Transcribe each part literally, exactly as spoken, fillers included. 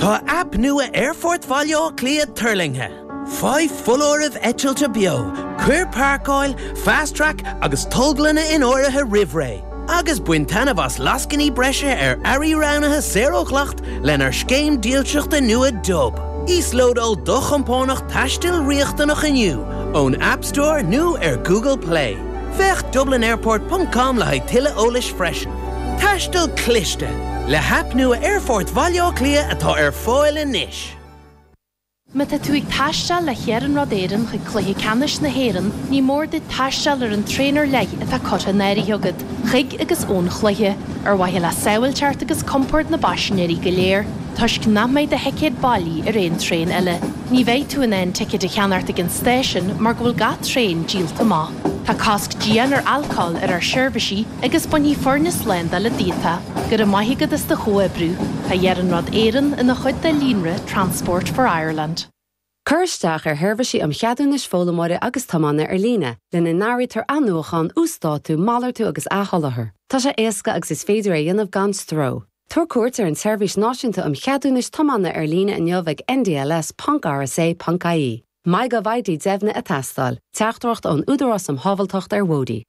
Tá aip nua Aerfort Bhaile Átha Cliath tuirlingthe. Faigh foláirimh eitilte beo, cuir páirceáil, fast track agus tolglanna in áirithe roimh ré. Agus bain taitneamh as lascainí breise ar earraí roghnaithe saor ó dhleacht lenár scéim dílseachta nua Dub. Íoslódáil do chompánach taistil riachtanach inniu ón App Store nó ar Google Play. Féach dublinairport.com le haghaidh tuilleadh eolais freisin. Taisteal cliste le haip nua Aerfort Bhaile Átha Cliath atá ar fáil anois. Má tá tú ag taisteal le hIarnród Éireann chuig Cluiche Ceannais na hÉireann, ní mór duit taisteal ar an traein ar leith atá curtha in áirithe agat, chuig agus ón chluiche, ar mhaithe le sábháilteacht agus compord na bpaisinéirí go léir, toisc nach mbeidh do thicéad bailí ar aon traein eile. Ní bheidh tú in ann ticéad a cheannacht ag an stáisiún mar go bhfuil gach traein díolta amach. Tá cosc dian ar alcól ar ár seirbhísí agus bainfidh foirne slándála díot. Go raibh maith agat as do chomhoibriú, Tá Iarnród Éireann ina chuid de líonra Transport for Ireland. Cuir isteach ar sheirbhísí um cheadúnais foghlaimeora agus tiomána ar líne, lena n-áirítear athnuachan, uasdátú, malartú agus athsholáthar. Tá sé éasca agus is féidir é a dhéanamh gan stró. Tabhair cuairt ar an tSeirbhís Náisiúnta um Cheadúnais Tiomána ar líne inniu ag ndls.rsa.ie. MyGovID deimhnithe ag teastáil, teachtaireacht ón Údarás um Shábháilteacht ar Bhóithre.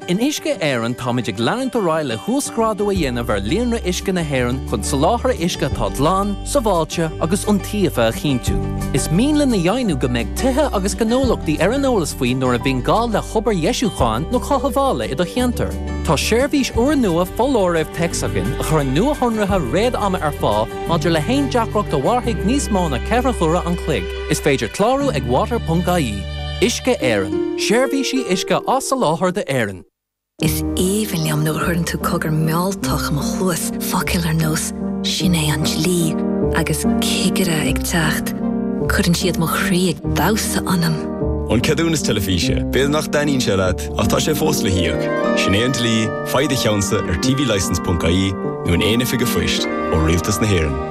In Uisce Éireann táimid ag leanúint ar aghaidh le huasghrádú a dhéanamh ar líonra uisce na hÉireann chun soláthar uisce atá glan, sábháilte agus iontaofa a chinntiú. Is mian linn a dheimhniú go mbeidh tithe agus gnólachtaí ar an eolas faoi nuair a bhíonn gá le hobair dheisiúcháin nó cothabhála i do cheantar. Tá seirbhís úrnua foláirimh téacs againn a chuireann nuashonruithe réad-ama ar fáil maidir le haon deacracht a mhairfidh níos mó ná ceithre huaire an chloig. Is féidir clárú ag water.ie. Uisce Éireann, seirbhísí uisce á soláthar d'Éirinn. Is aoibhinn liom nuair a chuireann tú cogar mealltach i mo chluas focail ar nós sin é an dlí agus cigire ag teacht. Cuireann siad mo chroí ag damhsa ionam. An ceadúnas teilifíse, B'fhéidir nach dtaitníonn sé leat ach tá sé fós le híoc. Sin é an dlí, faigh do cheannsa ar tvlicence.ie nó in aon oifig phoist ó Rialtas na hÉireann.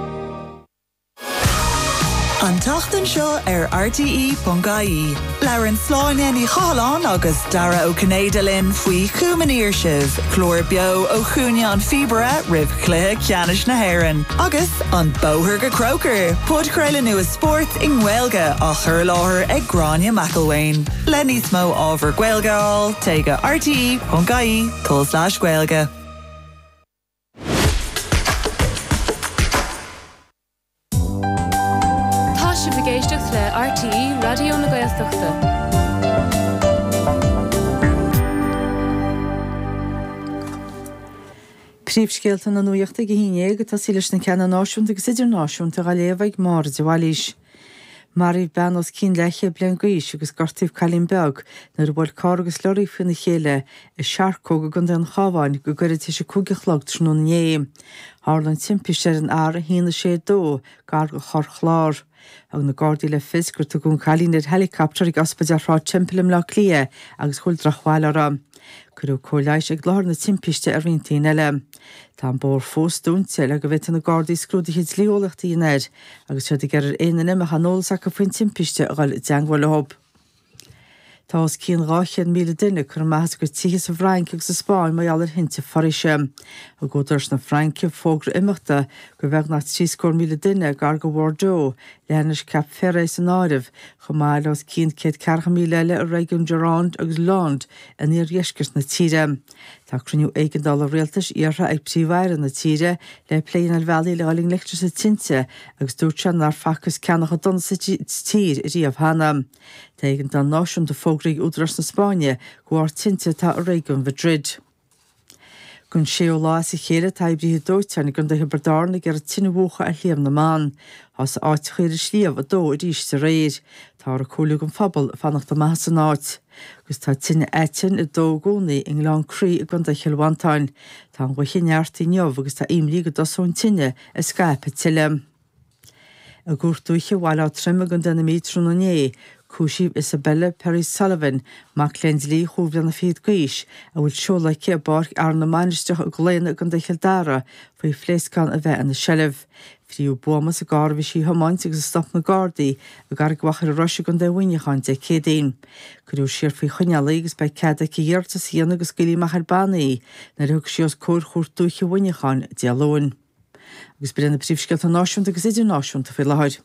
An tseachtain seo ar RTE.ie. Labhraíonn Sláine Ní Chathalláin agus Dara Ó Cinnéide linn faoi Chumann Sibh, clár beo ó Chúinne an Phíobaire roimh chluiche ceannais na hÉireann. Agus an Bóthar go Croker, podchraoladh nua spóirt i nGaeilge á chur i láthair ag Gráinne McElwain. Le níos mó ábhar Gaeilge a fháil téigh go RTE.ie tulslais Gaeilge. Tá sibh ag éisteacht le RTE Raidió na Gaeltachta. Príomhscéalta na nuachta ag a haon déag ag tosaí leis na ceanna náisiúnta agus idirnáisiúnta á léamh ag Máire de Bhailís. Maraíodh bean os cionn leathchéad bliain d'aois agus gortaíodh cailín beag nuair a bhuail carr agus lorry faoina chéile i Searcóg i gContae an Chabháin go gairid tar éis a cúig a chlog tráthnóna inné. Tharla an timpiste ar an R a haon a sé dó gar do Chorr Chláir. Thug na Gardaí le fios gur tugadh an cailín ar helicopter ag ospidéal Shráid Temple i mBleá Cliath agus go bhfuil drochbhail uirthi. Cuireadh cóir leighis ag láthair na timpiste ar roinnt daoine eile. Tá an bóthar fós dúnta le go bhféadfaidh na Gardaí scrúduithe dlí-eolaíochta a dhéanamh air, agus iad ag iarraidh ar aon duine a mbeadh aon eolas acu faoin timpiste a dhul i dteagmháil leo. Tá os cionn dhá chéad míle duine curtha amach as a gcuid tithe sa bhFrainc agus sa Spáinn mar gheall ar thinte foraoise. Thug údaráis na Fraince fógra imeachta do bheagnach trí scór míle duine gar do Bhordeaux, leathinis Cap Ferret san áireamh, chomh maith le os cionn céad ceathracha míle eile i réigiún Gironde agus Landes in iardheisceart na tíre. Tá cruinniú éigeandála rialtais iarrtha ag Príomh-Aire na tíre le plé ar bhealaí le dhul i ngleic leis na tinte agus dúirt sé nár facthas ceann chomh dona sa tír riamh cheana. Tá éigeandáil náisiúnta fógraithe ag údaráis na Spáinne de bharr tinte atá i réigiún Mhadrid. Don séú lá as a chéile tá oibrithe dóiteáin i gContae Thiobraid Árann ag iarraidh tine a mhúchadh ar Shliabh na mBan. Thosaigh áiteacha ar an sliabh ag dó arís aréir. Táthar ag comhairliú don phobal fanacht amach as an áit. Agus tá tine aitinn ag dó i gcónaí i nGleann Crí i gContae Chill Mhantáin. Tá an ghaoth ag neartú inniu agus tá imní go dtosóidh an tine ag scaipeadh tuilleadh. I gCúirt Dúiche Bhaile Átha Troim i gContae na Mí tráthnóna inné, cúisíodh Isabella Perry Sullivan, mac léinn dlí chúig bhliana fichead d'aois, a bhfuil seoladh aici i bPáirc Fhearann na Mainistreach i gClaonadh i gContae Chill Dara, faoi phléascán a bheith ina seilbh. Fríodh buama sa gcarr a bhí sí a thiomáint agus a stop na Gardaí i gCarraig Mhachaire Rois i gContae Mhuineacháin Dé Céadaoin. Cuireadh siar faoi choinneáil í agus beidh cead aici iarratas a dhéanamh go scaoilfí amach ar banna í nuair a thiocfaidh sí os comhair Chúirt Dúiche Mhuineacháin Dé Luain. Agus b'in na príomhscéalta náisiúnta agus idirnáisiúnta faoi láthair.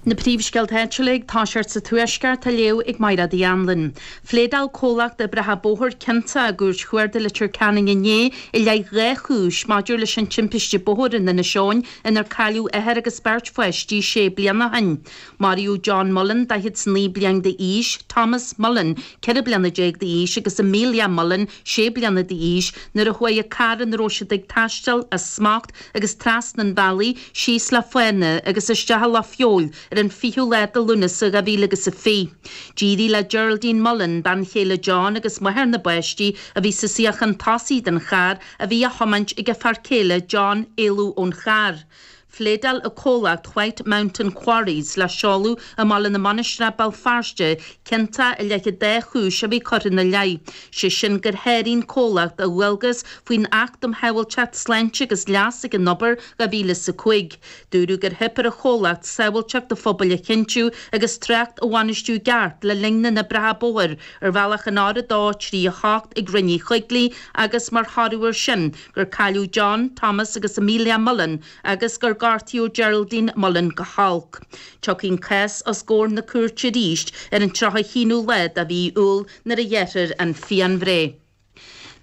Na príomhscéalta áitiúla ag toiseacht sa Tuaisceart á léamh ag Máire Uí Anluain. Phléadáil comhlacht oibreacha bóthair ciontach i gCúirt Chuarda Leitir Ceanainn inné i leith dhá chúis maidir leis an timpiste bóthair in Inis Eoghain inar cailleadh othar agus beirt pháistí sé bliana ó shin. Maraíodh John Mullen daichead is naoi bliain d'aois, Thomas Mullen ceithre bliana déag d'aois agus Amelia Mullen sé bliana d'aois nuair a chuaigh an carr ina raibh siad ag taisteal as smacht agus trasna an bhealaigh síos le fána agus isteach i loch feabhail ar an fichiú lá de Lúnasa dhá mhíle agus a fiche. D'éirigh le Geraldine Mullen, bean chéile John agus máthair na bpáistí a bhí sa suíochán tosaigh den charr a bhí á thiomáint ag a fear céile John éalú ón charr. Phléadáil an comhlacht White Mountain Quarries le seoladh i mBaile na Mainistreach Béal Feirste ciontach i leith an dá chúis a bhí curtha ina leith, sé sin gur sháraigh an comhlacht a dhualgas faoin Acht um Shábháilteacht Sláinte agus Leas ag an Obair dhá mhíle is a cúig. Dúradh gur theip ar an chomhlacht sábháilteacht an phobail a chinntiú agus trácht a bhainistiú i gceart le linn na n-oibreacha bóthair ar bhealach an R a dó trí a hocht ag Rinn Uí Choigligh agus mar thoradh air sin gur cailleadh John, Thomas agus Amelia Mullen agus gur gortaíodh Geraldine Mullen go holc. Tiocfaidh an cás os comhair na cúirte arís ar an tríocha haonú lá de mhí Iúil nuair a ghearrfar an phianbhreith.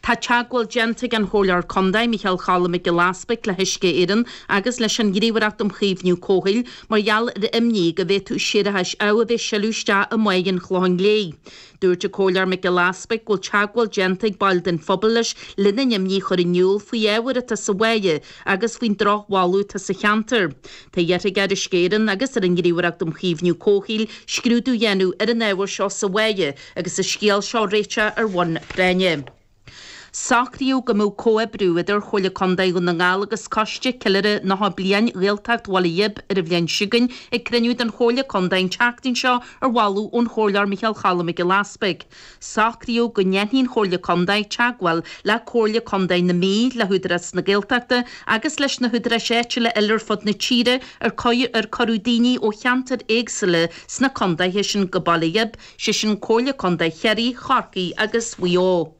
Tá teagmháil déanta ag an Chomhairleoir Contae Micheál Cholm Mac Giolla Easbuig le hUisce Éireann agus leis an Ghníomhaireacht um Chaomhnú Comhshaoil mar gheall ar imní go bhféadfadh séarachais amh a bheith ag sileadh isteach i mBáigh an Chlocháin Léith. Dúirt an Comhairleoir Mac Giolla Easbuig go bhfuil teagmháil déanta ag baill den phobal leis lena n-imní a chur in iúl faoi ábhar atá sa bháigh agus faoin drochbholadh atá sa cheantar. Tá iarrtha ar Uisce Éireann agus ar an Ghníomhaireacht um Chaomhnú Comhshaoil scrúdú a dhéanamh ar an ábhar seo sa bháigh agus an scéal seo a réiteach ar bhonn práinne. Socraíodh go mbeadh comhoibriú idir Chomhairle Contae Dhún na nGall agus Coiste Ceiliúrtha Nócha Bliain Ghaeltacht Bhaile Ghib ar an bhliain seo chugainn ag cruinniú den Chomhairle Contae an tseachtain seo ar mholadh ón Chomhairleoir Micheál Cholm Mac Giolla Easbuig. Socraíodh go ndéanfaidh an Chomhairle Contae teagmháil le Comhairle Contae na Mí, le hÚdarás na Gaeltachta agus leis na húdaráis áitiúla eile ar fud na tíre ar ar cuireadh daoine ó cheantair éagsúla sna contaetha sin go Baile Ghib, sé sin Comhairle Contae Chiarraí, Chorcaí agus Mhaigh Eo.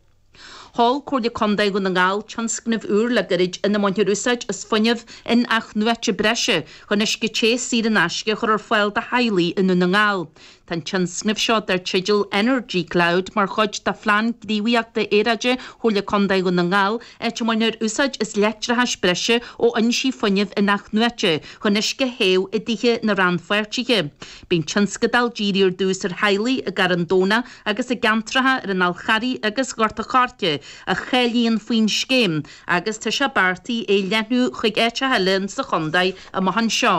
Sheol Comhairle Contae Dhún na nGall tionscnamh úr le gairid ina mbainfear úsáid as fuinneamh in-athnuaite breise chun uisce te saor in aisce a chur ar fáil do theaghlaigh i nDún na nGall. Tá an tionscnamh seo dar teideal Energy Cloud mar chuid de phlean gníomhaíochta aeráide Chomhairle Contae Dhún na nGall, áit a mbainfear úsáid as leictreachas breise ó fhoinsí fuinnimh in-athnuaite chun uisce a théamh i dtithe na rannpháirtithe. Bíonn tionscadal dírithe ar dtús ar theaghlaigh i gCarn Domhnach agus i gceantracha ar an Fhál Charraigh agus Ghort an Choirce a cháilíonn faoin scéim agus tá sé beartaithe é a leathnú chuig áiteacha eile sa chontae amach anseo.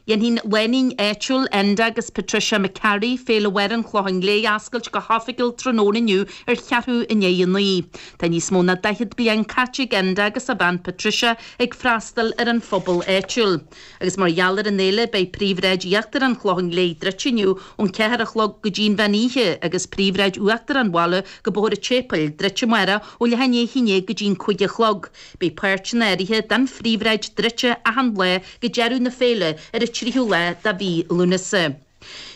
Dhéanfaidh an lánúin áitiúil Enda agus Patricia McCarry Féile Mháire an Chlocháin Léith a oscailt go hoifigiúil tráthnóna inniu ar cheathrú i ndiaidh a naoi. Tá níos mó ná daichead bliain caite ag Enda agus a bhean Patricia ag freastal ar an phobal áitiúil. Agus mar gheall ar an fhéile beidh príomhshráid íochtar an Chlocháin Léith druidte inniu ón ceathair a chlog go dtí an mheán oíche agus príomhshráid uachtar an bhaile go Bóthar an tSéipéil druidte amárach ó leath i ndiaidh a haon déag go dtí an cúig a chlog. Beidh páirteanna áirithe den phríomhshráid druidte achan lá go deireadh na féile ar an tríú lá de mhí Lúnasa.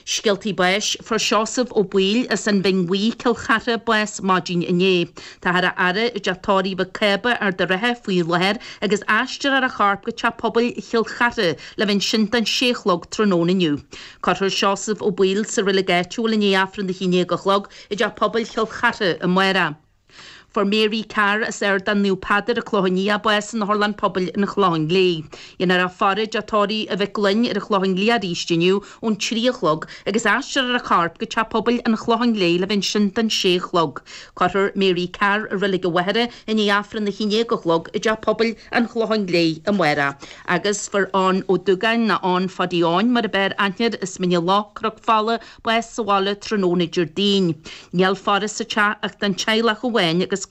Scéaltaí báis fuair Seosamh Ó Baoill as an Bhinn Bhuí, Cill Chartha, bás maidin inné. Táthar á fhaire i dteach tórraimh Mhic Cába, Ard an Rátha faoi láthair agus aistreofar a chorp go teach pobail Chill Chartha le bheith ansin don sé a chlog tráthnóna inniu. Cuirfear Seosamh Ó Baoill sa reilig áitiúil i ndiaidh Aifreann a haon déag a chlog i dteach pobail Chill Chartha amárach. Fuair Mary Carr as Ardán Naomh Peadar, An Clochán Liath, bás in Otharlann Pobail an Chlocháin Léith. Dhéanfar a faire i dteach tórraimh Mhic Gloinn ar an Chlochán Liath arís inniu ón trí a chlog agus aistreofar a corp go teach pobail an Chlocháin Léith le bheith ansin don sé a chlog. Cuirfear Mary Carr i Reilig an Mhachaire i ndiaidh Aifreann a haon déag a chlog i dteach pobail an Chlocháin Léith amárach. Agus fuair Eoin Ó Dúgáin nó Eoin Phadaí Eoin mar ab fhearr aithne air as Mín an Loch, Cnoc Fola, bás sa bhaile tráthnóna Déardaoin. Níl faire sa teach ach don teaghlach amháin agus